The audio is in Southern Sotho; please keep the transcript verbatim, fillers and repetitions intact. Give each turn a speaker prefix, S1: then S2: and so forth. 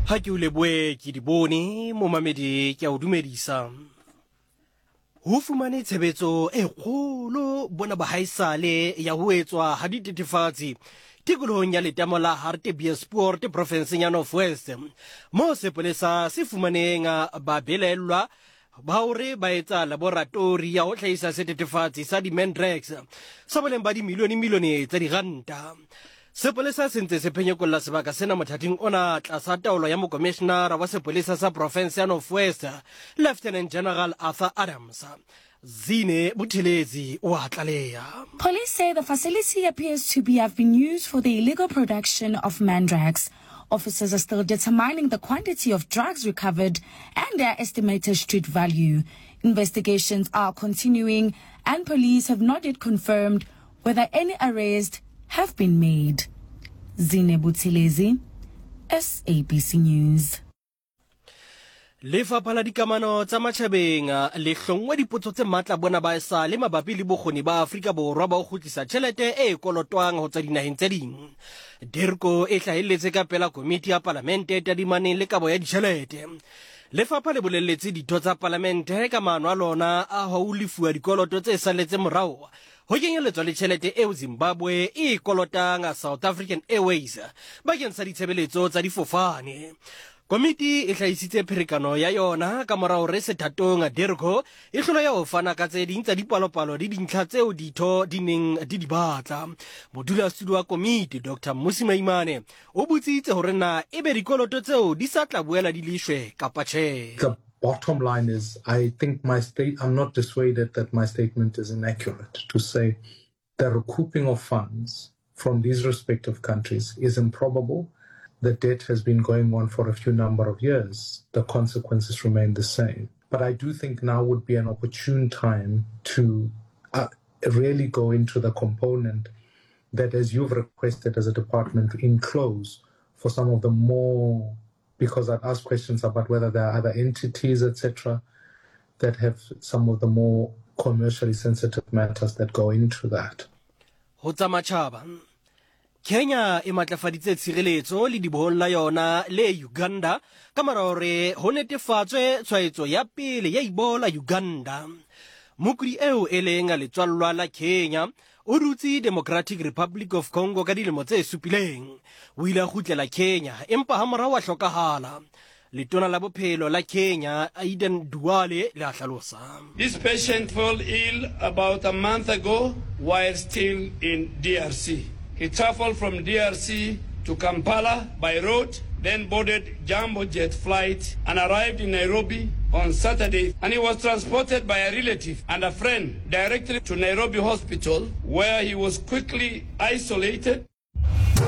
S1: Ha ke o lebohe ke di bone momamedi ke a o dumedisa. Ho fumane tshebetso e kgolo bona bahaisale ya ho etswa ha dithethefatsi tikolohong ya letamo la Hartbeespoort profenseng ya North West moo sepolesa se fumaneng babelaellwa ba hore ba etsa laboratori ya ho hlahisa sethethefatsi sa di-mandrax sa boleng ba dimilione-milione tsa diranta. Sepolesa se ntse se phenyekolla sebaka sena mothating ona tlasa taolo ya mokomishenara wa sepolesa sa profense ya North West, Lieutenant General Arthur Adams. Zine Buthelezi o a tlaleha.
S2: Police say the facility appears to be have been used for the illegal production of mandrax. Officers are still determining the quantity of drugs recovered and their estimated street value. Investigations are continuing and police have not yet confirmed whether any arrests have been made. Zine Buthelezi, S A B C News.
S1: Lefapha la Dikamano tsa Matjhabeng le hlongwe dipotso tse matla bona ba esale mabapi le bokgoni ba Afrika Borwa ba ho kgutlisa tjhelete e kolotwang ho tswa dinaheng tse ding. Dirco e hlahelletse ka pela komiti ya palamente e tadimaneng le kabo ya ditjhelete. Lefapha le bolelletse ditho tsa palamente ka maano a lona a ho lefuwa dikoloto tse salletseng morao, ho kenyelletswa le tjhelete eo Zimbabwe e kolotang South African Airways bakeng sa ditshebeletso tsa difofane. Komiti e hlahisitse pherekano ya yona ka mora hore sethatong Dirco e hlolehe ho fana ka tse ding tsa dipalopalo le dintlha tseo ditho di neng di di batla. Modulasetulo wa komiti, Doctor Mmusi Maimane, o botsitse hore na ebe dikoloto tseo di sa tla boela di leshwe kapa tjhe.
S3: The bottom line is, I think my state, I'm not dissuaded that my statement is inaccurate to say the recouping of funds from these respective countries is improbable. The debt has been going on for a few number of years. The consequences remain the same. But I do think now would be an opportune time to uh, really go into the component that, as you've requested as a department, to enclose for some of the more, because I'd asked questions about whether there are other entities, et cetera, that have some of the more commercially sensitive matters that go into that.
S1: Ho tsa matjhaba, Kenya e matlafaditse tshireletso ledibohong la yona le Uganda ka mora hore ho netefatswe tshwaetso ya pele ya Ebola Uganda. Mokudi eo e leng letswallwa la Kenya o dutse Democratic Republic of Congo ka dilemo tse supileng. O ile a kgutlela Kenya empa hamorao a hlokahala. Letona la Bophelo la Kenya, Aden Duale, le a hlalosa.
S4: This patient fell ill about a month ago while still in D R C. He traveled from D R C to Kampala by road, then boarded Jambo Jet flight and arrived in Nairobi on Saturday. And he was transported by a relative and a friend directly to Nairobi Hospital, where he was quickly isolated.